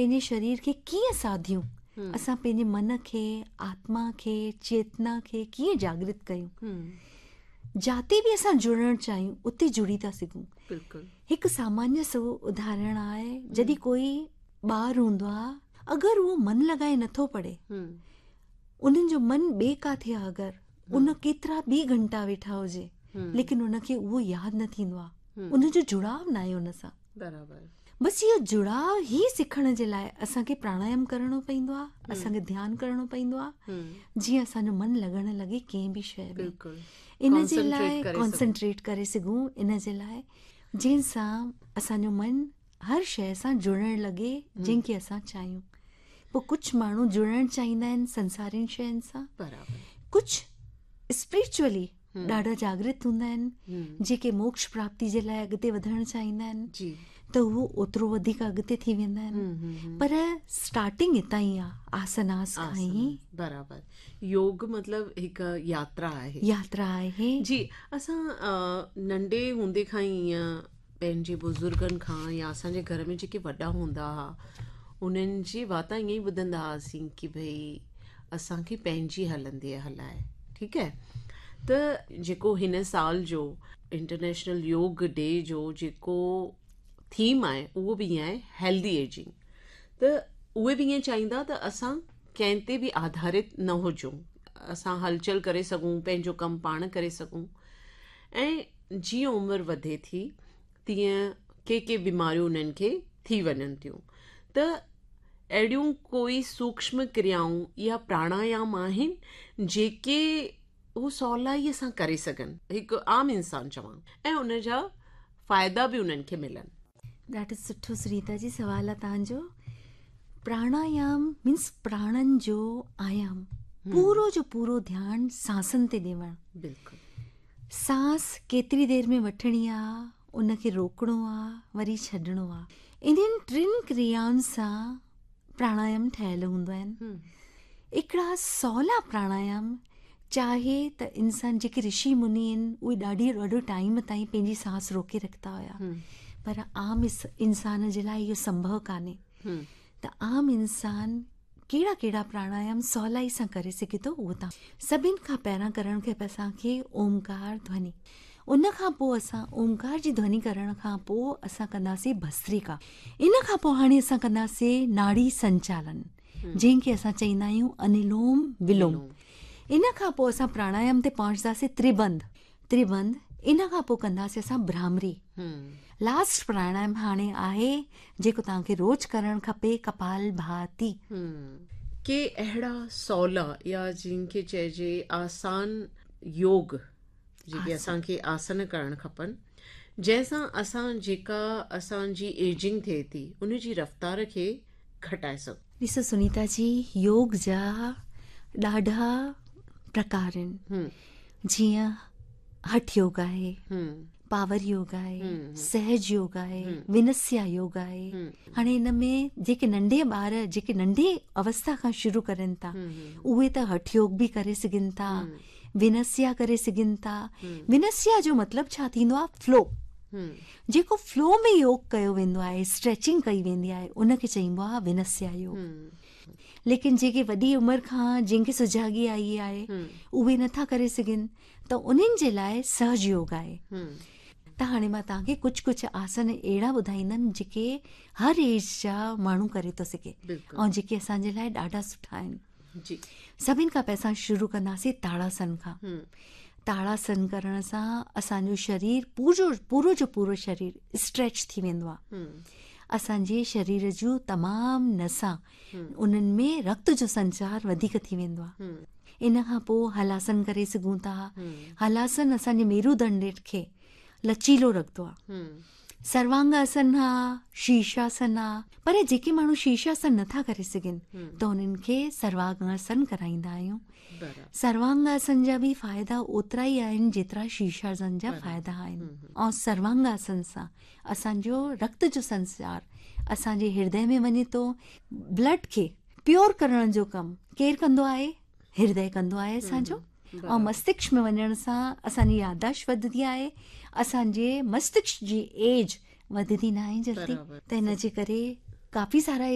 पंहिंजे शरीर खे कीअं साधियूं, असां पंहिंजे मन खे, आत्मा खे, चेतना खे कीअं जागृत कयूं। जाते बि असां जुड़णु चाहियूं उते जुड़ी था सघूं। बिल्कुलु। हिकु सामान्य सो उदाहरण आहे, जॾहिं कोई ॿार हूंदो आहे, अगरि उहो मन लॻाए नथो पढ़े, उन्हनि जो मन ॿिए काथे आहे, अगरि उन केतिरा बि घंटा वेठा हुजे, लेकिन उनखे उहो यादि न थींदो आहे, उनजो जुड़ाव न आहे उन सां। बराबरि। बसि इहो जुड़ाव ई सिखण जे लाइ असांखे प्राणायाम करिणो पवंदो आहे, असांखे ध्यानु करिणो पवंदो आहे, जीअं असांजो मन लॻण लॻे कंहिं बि शइ में। बिल्कुलु। इन जे लाइ कॉन्सन्ट्रेट करे सघूं। कॉन्सन्ट्रेट करे सघूं, इन जे लाइ जंहिंसां असांजो मन हर शइ सां जुड़ण लॻे जंहिंखे असां चाहियूं। पोइ कुझु माण्हू जुड़णु चाहींदा आहिनि संसारिन शयुनि सां, बराबरि। कुझु स्पिरिचुअली ॾाढा जागृत हूंदा आहिनि, जेके मोक्ष प्राप्ति जे लाइ अॻिते वधणु चाहींदा आहिनि, जी। त उहो ओतिरो वधीक अॻिते थी वेंदा आहिनि। पर स्टार्टिंग हितां ई आहे, आसनास खां ई। बराबरि। योग मतिलबु हिकु यात्रा आहे। यात्रा आहे। जी। असां नंढे हूंदे खां ई ईअं पंहिंजे बुज़ुर्गनि खां या असांजे घर में जेके वॾा हूंदा हुआ उन्हनि जे वातां ईअं ई ॿुधंदा हुआसीं की भई असांखे पंहिंजी हलंदी हलाए, ठीकु आहे। त जेको हिन साल जो इंटरनेशनल योग डे जो जेको थीम आहे उहो बि ईअं आहे, हेल्दी एजिंग। त उहे बि ईअं चाहींदा त असां कंहिं ते बि आधारित न हुजूं, असां हलचल करे सघूं, पंहिंजो कमु पाण करे सघूं। ऐं जीअं उमिरि वधे थी तीअं के के बीमारियूं उन्हनि खे थी वञनि थियूं। त अहिड़ियूं कोई सूक्ष्म क्रियाऊं या प्राणायाम आहिनि जेके हू सवलाईअ सां करे सघनि, हिकु आम इंसान चवां, ऐं उन जा फ़ाइदा बि उन्हनि खे मिलनि? ॾाढो सुठो सुनीता जी सवाल आहे तव्हांजो। प्राणायाम मीन्स प्राणनि जो आयाम, पूरो जो पूरो ध्यानु सांसनि ते ॾियणु। बिल्कुलु। सांस केतिरी देरि में वठणी आहे, उनखे रोकणो आहे, वरी छॾिणो आहे। इन्हनि टिनि क्रियाउनि सां प्राणायाम ठहियल हूंदा आहिनि। हिकिड़ा सवला प्राणायाम, चाहे त इंसान जेके ऋषि मुनि आहिनि उहे ॾाढी ॾाढो टाइम ताईं पंहिंजी सांस रोके रखंदा हुया, पर आम इंसान जे लाइ इहो संभव कान्हे। त आम इंसान कहिड़ा कहिड़ा प्राणायाम सवलाई सां करे सघे थो उहो तव्हां सभिनि खां पहिरियां करणु खपे असांखे ओमकार ध्वनि। उन खां पोइ असां ओमकार जी ध्वनि करण खां पोइ असां कंदासीं भस्त्रिका। इन खां पोइ हाणे असां कंदासीं नाड़ी संचालन, जंहिंखे असां चवंदा आहियूं अनुलोम विलोम। इन खां पोइ असां प्राणायाम ते पहुचंदासीं त्रिबंध, त्रिबंध। इन खां पोइ कंदासीं असां भ्रामरी। लास्ट प्राणायाम हाणे आहे जेको तव्हांखे रोज़ करणु खपे, कपाल भाती। के अहिड़ा सवला या जिनखे चइजे आसान योग जेके असांखे आसन करणु खपनि, जंहिंसां असां जेका असांजी एजिंग थिए थी उनजी रफ़्तार खे घटाए सघूं? ॾिसो सुनीता जी, योग जा ॾाढा प्रकार आहिनि, जीअं हठ योग आहे, पावर योग आहे, सहज योग आहे, विनस्या योग आहे। हाणे हिन में जेके नंढे ॿार जेके नंढे अवस्था खां शुरू करनि था उहे त हठ योग बि करे सघनि था, विनस्या करे सघनि था। विनस्या जो मतिलबु छा थींदो आहे? फ्लो। जेको फ्लो में योग कयो वेंदो आहे, स्ट्रेचिंग कई वेंदी आहे, उनखे चइबो आहे विनस्या योग। लेकिन जेके वॾी उमिरि खां जंहिंखे सुजागी आई आहे उहे नथा करे सघनि, त उन्हनि जे लाइ सहज योग आहे। त हाणे मां तव्हांखे कुझु कुझु आसन अहिड़ा ॿुधाईंदमि जेके हर एज जा माण्हू करे थो सघे ऐं जेके असांजे लाइ ॾाढा सुठा आहिनि। जी। सभिनि खां पहिरियां असां शुरू कंदासीं ताड़ासन खां। ताड़ासन करण सां असांजो शरीर पूरो पूरो जो पूरो शरीर स्ट्रेच थी वेंदो आहे। असांजे शरीर जूं तमामु नसां उन्हनि में रक्त जो संचार वधीक थी वेंदो आहे। इन खां पोइ हलासन करे सघूं था। हलासन असांजे मेरुदंड खे लचीलो रखंदो आहे। सर्वांगासन आहे, शीर्षासन आहे, पर जेके माण्हू शीर्षासन नथा करे सघनि त उन्हनि खे सर्वांगासन कराईंदा आहियूं। सर्वांगासन जा बि फ़ाइदा ओतिरा ई आहिनि जेतिरा शीर्षासन जा फ़ाइदा आहिनि। ऐं सर्वांगासन सां असांजो रक्त जो संचार असांजे हृदय में वञे थो। ब्लड खे प्योर करण जो कमु केरु कंदो आहे? हृदय कंदो आहे असांजो। ऐं मस्तिष्क में वञण सां असांजी यादाश्त वधंदी आहे, असांजे मस्तिष्क जी एज वधंदी न आहे जल्दी। त हिन जे करे काफ़ी सारा